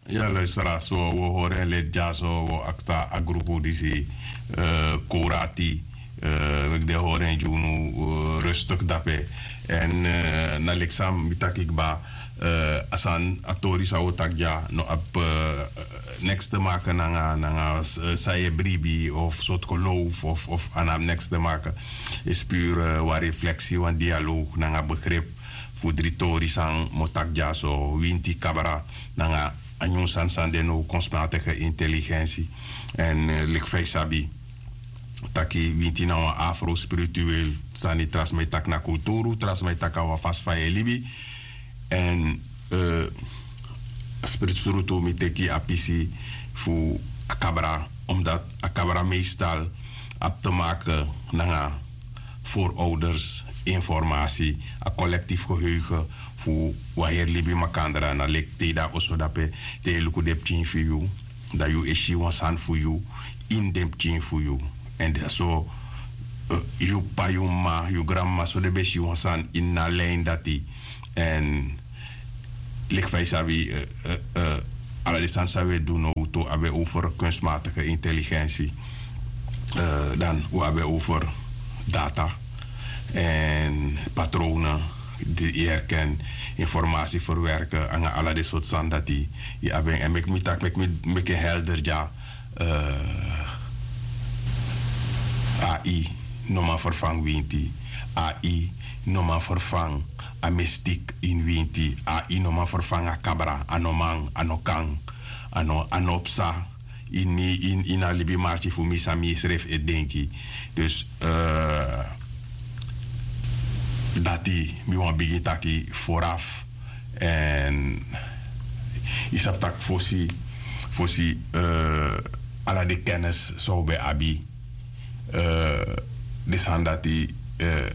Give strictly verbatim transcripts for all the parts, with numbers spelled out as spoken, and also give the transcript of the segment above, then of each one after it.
Ya, luisteraars, so wi o hori en leti dya, so wi o akta a grupu disi, eh, Korati, eh, meki den hori en gi unu, eh, rustig dape. Èn, eh, na leki san mi taki kba, eh, a sani, a tori san wi o taki dya no abi, eh, niks te maken nanga, nanga, eh, san yu e bribi of sortu geloof of, of a no abi niks te maken. Is puur, eh, wan refleksi, wan dialoog nanga begrip fu dri tori san mi o taki dyaso: winti, kabra nanga a nyun sani san de now, kunstmatige intelligensi. Èn, eh, leki fa yu sabi taki winti na wan afro-spiritueel sani, tra sma e taki na kulturu, tra sma e taki na wan fasi fa yu e libi. Èn, eh, spiritueel tu mi teki a pisi fu a kabra, omdat a kabra meestal abi te maken nanga voorouders informasi, a collectief geheugen fu wan heri libi makandra. Na leki te yu de na oso dape, te yu e luku den pikin fu yu, dan yu e si wan sani fu yu ini den pikin fu yu. Èn dan so, eh, yu p'pa, yu m'ma, yu granmama, so den ben si wan sani ini a lijn dati. Èn leki fa yu sabi, eh, eh, eh, ala den sani san wi e du now tu abi en over kunstmatige intelligensi. Eh, dan wi abi en over data èn patronen di yu herken, informasi verwerken, nanga ala den sortu sani dati. Yu abi en, èn meki mi taki, meki mi meki en helder dya. Eh, A I no man vervang winti. A I no man vervang a mistik ini winti. A I no man vervang a kabra. A no man, a no kan, a no, a no psa ini, ini, ini a libi marki fu mi san mi srefi e denki. Dus, eh, dati mi wani bigin taki vooraf. Èn yu sabi taki fosi, fosi, eh, ala den kennis san wi ben abi, eh, den sani dati, eh,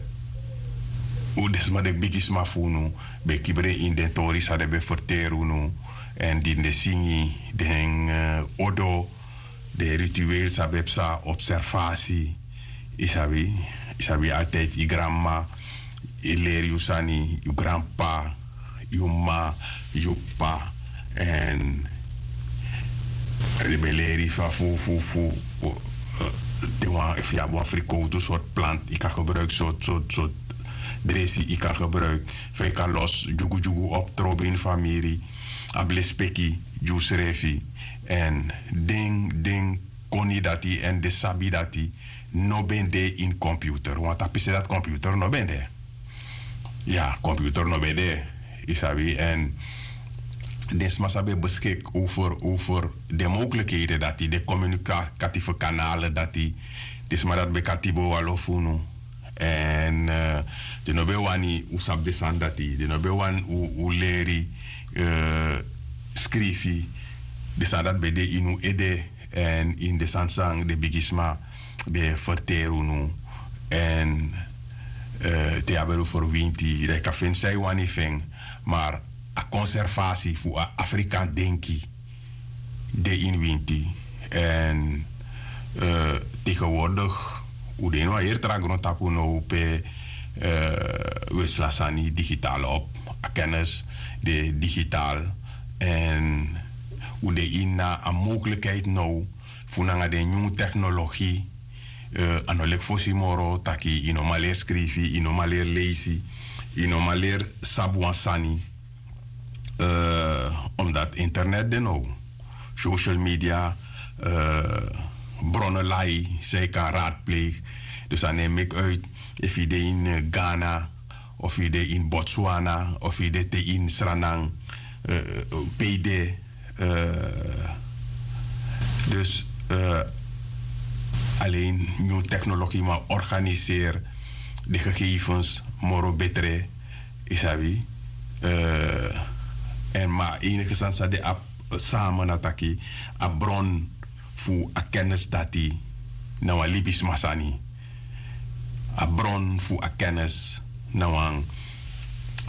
un, den sma, den bigisma fu unu ben kibri en ini den tori san den ben ferteri unu. Èn di den singi, den, eh, odo, den ritueel san ben psa, observasi. Yu sabi, yu sabi, altijd yu granmama e leri yu sani, yu granp'pa, yu m'ma, yu p'pa. Èn den ben leri fa fu, fu, fu, eh, te wan, efu yu abi wan frikowtu, sortu planti yu kan gebruiki, sortu, sortu, sortu dresi yu kan gebruiki, fa yu kan losi dyugudyugu op, trobi ini famiri, abi lespeki gi yusrefi. Èn den, den koni dati èn den sabi dati no ben de ini computer. Want a pisi dati computer no ben de. Ya, computer no ben de, yu sabi. Èn den sma san ben beskik over, over den mogelijkheden dati, den communicatieve kanalen dati, den sma dati ben kan tibo wan lo fu unu. Èn, eh, den no ben wani un sabi den sani dati. Den no ben wani un, un leri, eh, skrifi. Den sani dati ben de ini un ede. Èn ini den sani san den bigisma ben ferteri unu. Èn, eh, te yu abi en over winti, dan yu kan feni san yu wani fu en. Maar a conservatie fu a Afrikaan denki de ini winti. Èn, eh, tegenwoordig un de ini wan heri tra grontapu now pe, eh, wi e sla sani digitaal op. A kennis de digitaal. Èn un de ini a mogelijkheid now fu nanga den nyun technologie, eh, a no leki fosi moro taki yu no man leri skrifi, yu no man leri leisi, yu no man leri sabi wan sani. Eh, omdat internet de now, social media, eh, bronnen lai san yu kan raadpleeg. Dus a no e meki uit efu yu de ini, eh, Ghana, of yu de ini Botswana, of yu de te ini Sranan, eh, pe yu de, eh, dus, eh, alleen nyun technologie man organiseri den gegevens moro betre, yu sabi. Eh, èn ma enige sani san de abi samen na taki a bron fu a kennis dati na wan libisma sani. A bron fu a kennis na wan,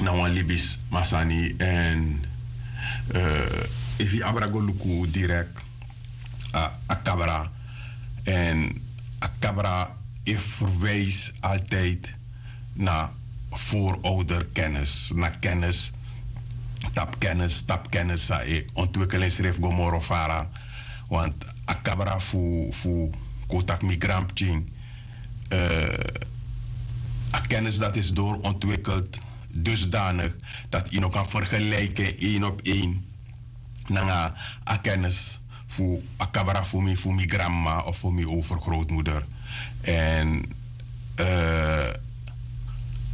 na wan libisma sani. Èn, eh, efu yu abra go luku direct a, a kabra. Èn a kabra e verwijs altijd na voorouderkennis, na kennis Tapu kennis tapu kennis san e ontwikkel ensrefi go moro fara. Want a kabra fu fu kon taki mi granpikin, a kennis dati is doorontwikkeld dusdanig dati yu no kan fergelijken een op een nanga a kennis fu a kabra fu mi fu mi granmama of fu mi overgrootmoeder. Èn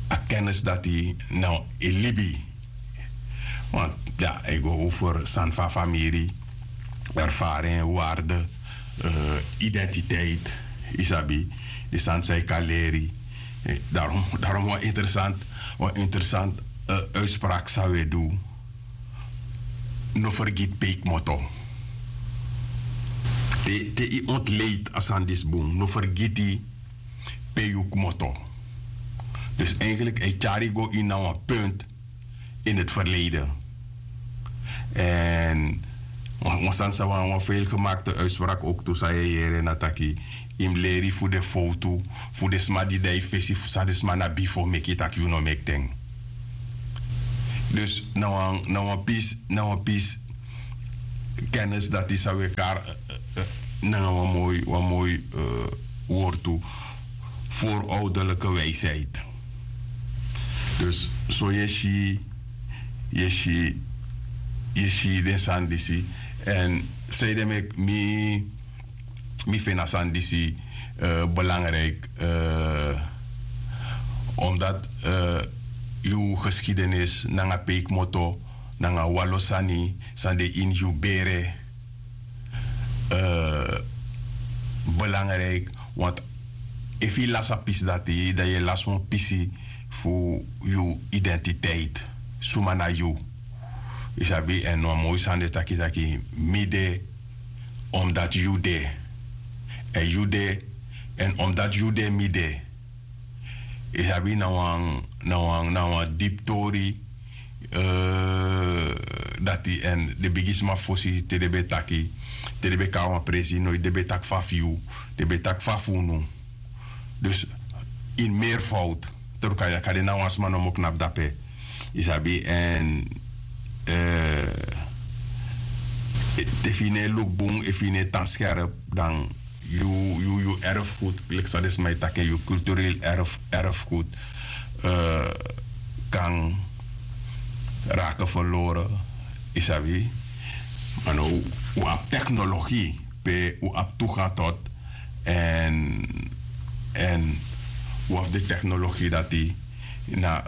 a kennis dati no e libi. Want ya e go over sani fu a famiri, ervaring, waarde, identiteit, yu sabi, di sani san yu kan leri. Darom wan interessant wan interessant uitspraak san wi e du. No fergiti pe yu kmoto. Te yu ontleiti a sani disi bun no fergiti pe yu kmoto. Dus eigenlik a e tyari yu go ini na wan punt ini eti ferleiden. Èn wan sani san wan feilgemakte uitspraki ouk tu san yu e yere na taki, yu mus leri fu den fowtu fu den sma di de na yu fesi fu san den sma na bifo meki tak' yu no meki den. Dus na wan na wan pisi na wan pisi kennis dati san wi e kari nanga wan moi wan moi wortu, voorouderlijke wijsheid. Dus so yu e si yu e si yu e si den sani disi. Èn feide meki mi mi feni a sani disi belangrijk. Omdat yu geskidenis nanga pe yu kmoto nanga walo sani san de ini yu bere belangrijk. Want efu yu lasi a pisi dati dan yu e lasi wan pisi fu yu identiteit. Suma na yu? Yu sabi èn wan moi sani de taki taki mi de omdati yu de. Èn yu de èn omdati yu de mi de. Yu sabi na wan na wan na wan dipi tori. Dati èn den bigisma fosi te den ben taki te den ben kon na wan presi noiti den ben taki fa fu yu. Den ben taki fa fu unu. Dus ini meervoud. Terukaya kade na wan sma nomo knapu dape. Yu sabi èn te fu yu no e luku bun efu yu no e tan skerp dan yu yu yu erfgoed leki san den sma e taki en yu cultureel erfgoed kan raken verloren. Yu sabi. Ma no un abi teknologi pe un abi toegang tot èn èn un abi de teknologi dati na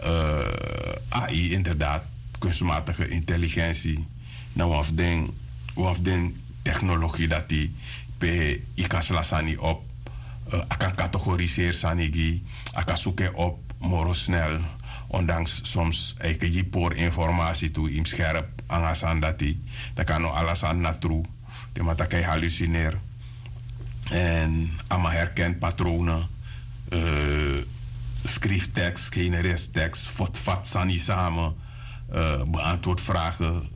ai inderdaad kunstmatige intelligensi. Na un abi den un abi den teknologi dati pe yu kan sla sani op. A kan kategoriseri sani gi yu. A kan suku en op moro snel. Ondanks soms a e gi yu pori informasi tu yu mus skerp nanga a sani dati. Dan kan no ala sani na tru. Den man taki a e halusineri. Èn a man herkeni patrowne. Skrifi teks generesi teks fotfati sani same. Beantword vragen.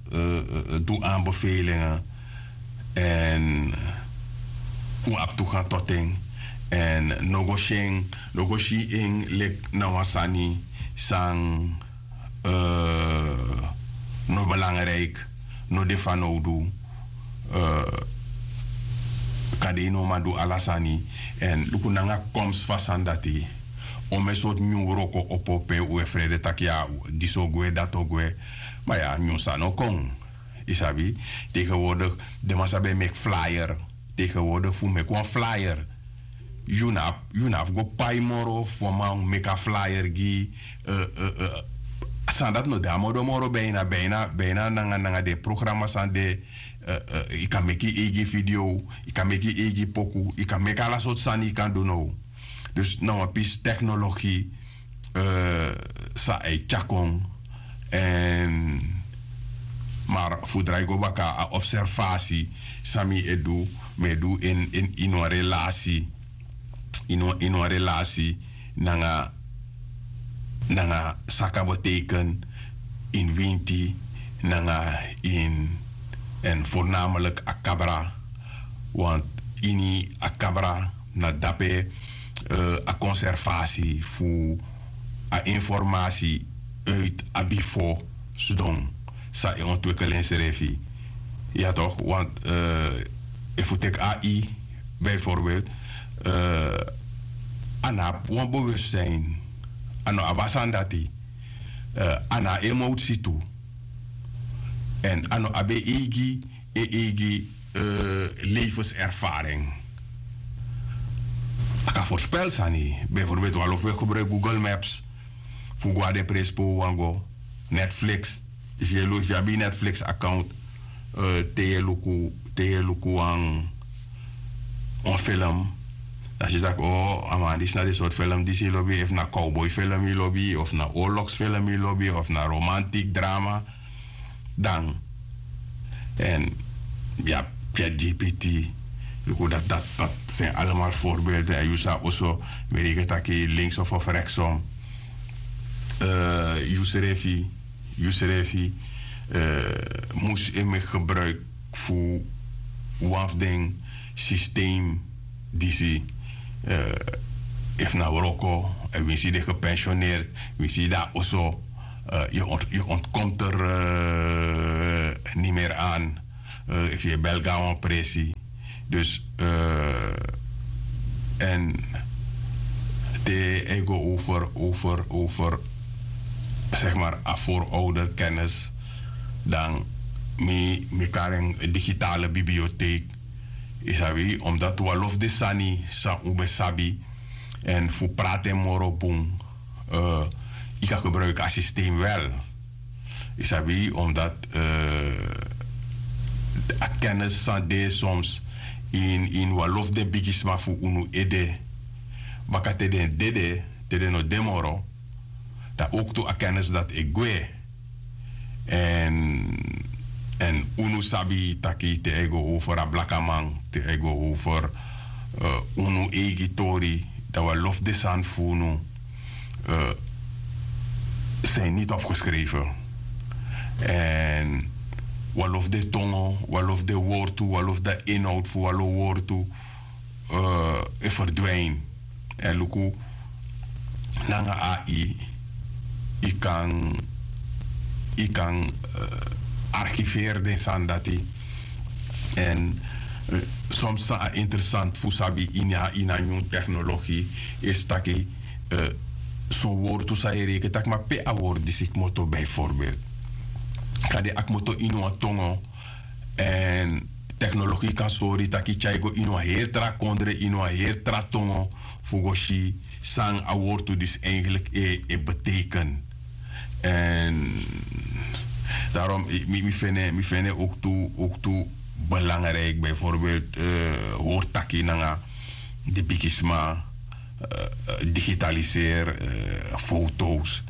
Du anbefelingen. Èn un abi tu gan toting. Èn no go si en no go si en leki na wan sani san no belangrijk. No de fanowdu. Kande yu no man du ala sani. Èn luku nanga komsi fu a sani dati. Onmen sortu nyun wroko opo pe un e frede taki ya disi o gwe dati o gwe. Ma ya nyun sani o kon. Yu sabi. Tegenwoordik den man sabi e meki flyer. Tegenwoordik fu meki wan flyer. Yu no abi yu no abi go pai moro fu wan man meki a flyer gi yu. San dati no de a modo moro beina beina beina nanga nanga den programa san de. Yu kan meki yu eigi video. Yu kan meki yu eigi poku yu kan meki ala sortu sani yu kan du now. Dus na wan pisi teknologi san a e tyari kon. Èn mar fu drai go baka a observasi san mi e du mi e du ini wan relasi ini wan relasi nanga nanga san kan beteken ini winti nanga ini èn voornamelik a kabra. Want ini a kabra na dape a konservasi fu a informasi uit a bifo sidon. san e ontwikkel ensrefi. Ya toch, want efu teki ai bijvoorbeeld, a no abi wan bewustzijn. A no abi a sani dati. A no abi emotsi tu. Èn a no abi en eigi en eigi levenservaring. A kan voorspel sani. Bijvoorbeeld wan lofu e gebruik google maps fu go na den presi pe un wani go. Netflix, efu yu abi yu netflix account, te yu e luku te yu e luku wan wan film, dan si tak' o a man disi na den sortu film disi yu lobi efu na cowboy film yu lobi of na oorlogsfilm yu lobi of na romantik drama. Dan èn yu abi chat gpt. Luku dati dati dati seni allemaal voorbeelden èn yu sa oso, mi reken tak' yu linksom of rektsom. Yu srefi yu srefi mus e meki gebruik fu wan fu den systeem disi. Efu na wroko èn winsi yu de gepensioneerd, winsi yu de na oso, yu ontkomt er niet meer aan. Efu yu e bel go na wan presi. Dus èn te a e go over over over zeg maar a voorouderkennis, dan mi mi kari en digitale bibliotheek. Yu sabi omdat wan lofu de sani san un ben sabi èn fu prati en moro bun, yu kan gebruiki a systeem wel. Yu sabi omdat a kennis san de soms ini wan lofu den bigisma fu unu ede, baka te den dede, te den no de moro, dan owktu a kennis dati e gwe. Èn unu sabi taki te a e go over a blakaman, te a e go over unu eigi tori, dan wan lofu de sani fu unu zijn niet opgeschreven. Èn wan lofu de tongo, wan lofu de wortu, wan lofu de inhoud fu wan lo wortu e verdwijn. Èn luku nanga ai yu kan yu kan archiveri den sani dati. Èn soms san a interessant fu sabi ini a ini a nyun teknologi isi taki son wortu san yu e reken taki ma pe a wortu disi kmoto bijvoorbeeld. Kan de a kmoto ini wan tongo. Èn teknologi kan sori taki tyai go ini wan heri tra kondre ini wan heri tra tongo fu go si san a wortu disi eigenlik e beteken. Èn darom mi fene mi fene oktu oktu belangrijk bijvoorbeeld hori taki nanga di bigisma digitaliseer, foto's,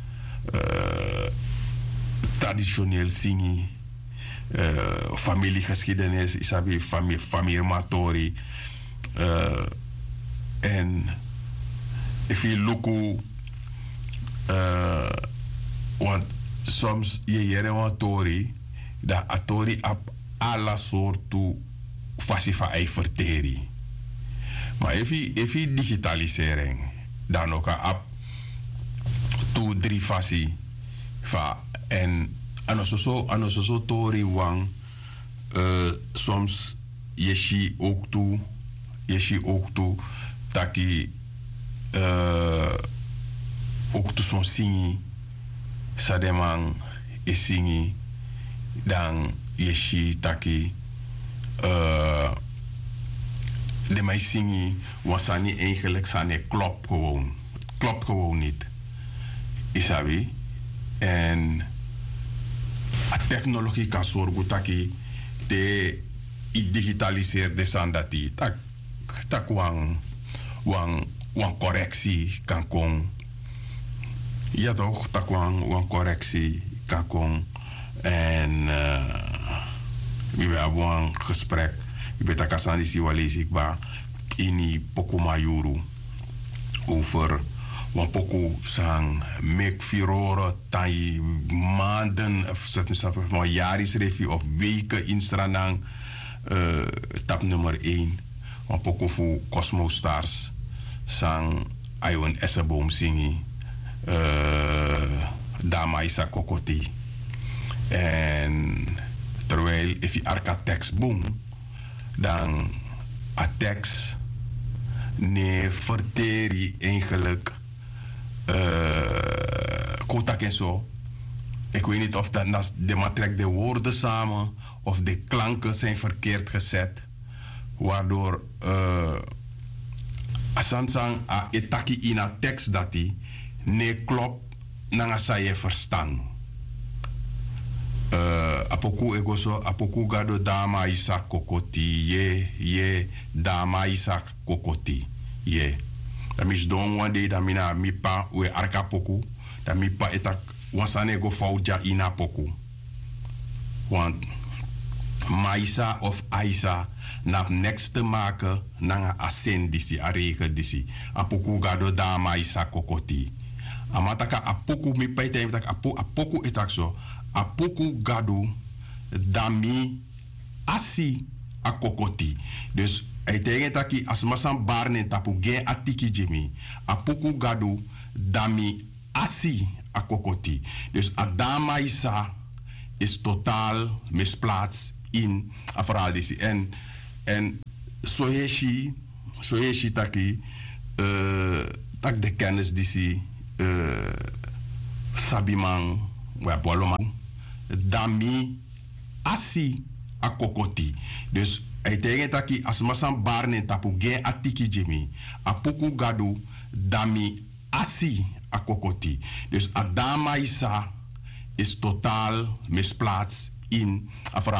tradisioneel singi, familiegeskidenis yu sabi familiematori. Èn efu yu luku want soms yu e yere wan tori, dan a tori abi ala sortu fasi fa a e ferteri. Ma efu yu digitaliseri en, dan no kan abi tu dri fasi fa. Èn a no soso a no soso tori wan. Soms yu e si owktu yu e si owktu taki owktu son singi san den man e singi, dan yu e si taki den man e singi wan sani eigenlik san no e klop. Klop gewoon niti. Yu sabi? Èn a teknologi kan sorgu taki te yu digitaliseri den sani dati tak' tak' wan wan wan koreksi kan kon. Ya tok' tak' wan wan koreksi kan kon. Èn mi ben abi wan gesprek, mi ben taki a sani disi wan leisi kba ini poku mayuru over wan poku san meki firoro tan yu manden of seti mi sabi fu wan yari srefi of weken ini sranan. Tapu nummer een, wan poku fu cosmo stars san a e wani eseboom singi. Dama yu sa kokoti. En terwijl efu yu arki a tekst bun, dan a tekst no e ferteri eigenlijk, eh, kon taki en so. Ik weet niet of dat na de man trekt de woorden samen of de klanken zijn verkeerd gezet, waardoor, eh, a sani san a e taki ini a tekst dati no e klop nanga san yu e ferstan. Eh, a poku e go so, a poku gado dama isa kokoti, ye, ye, dama isa kokoti, ye. Dan mi sidon wan dei, dan mi na mi pa, un e arki a poku, dan mi pa e taki wan sani e go fowtu dya ini a poku. Want maisa of aisa na abi neks te make nanga a seni disi, a regel disi. A poku gado dama isa kokoti. A man taki a poku, mi pa e taigi mi taki a po-, a poku e taki so. A poku gado dami asi a kokoti. Dus a e taigi en taki a sma san bari na en tapu gi en a tiki gi mi. A poku gado dami asi a kokoti. Dus a dama isa is totaal misplaatst in a verhaal disi. En, en so yu e si, so yu e si taki, eh, taki de kennis disi, eh, sabiman, we abi waloman, dami asi a kokoti. Dus a e taigi en taki a sma san bari na en tapu gi en a tiki gi mi. A poku gado dami asi a kokoti. Dus a dama isa is totaal misplaatst in a verhaal.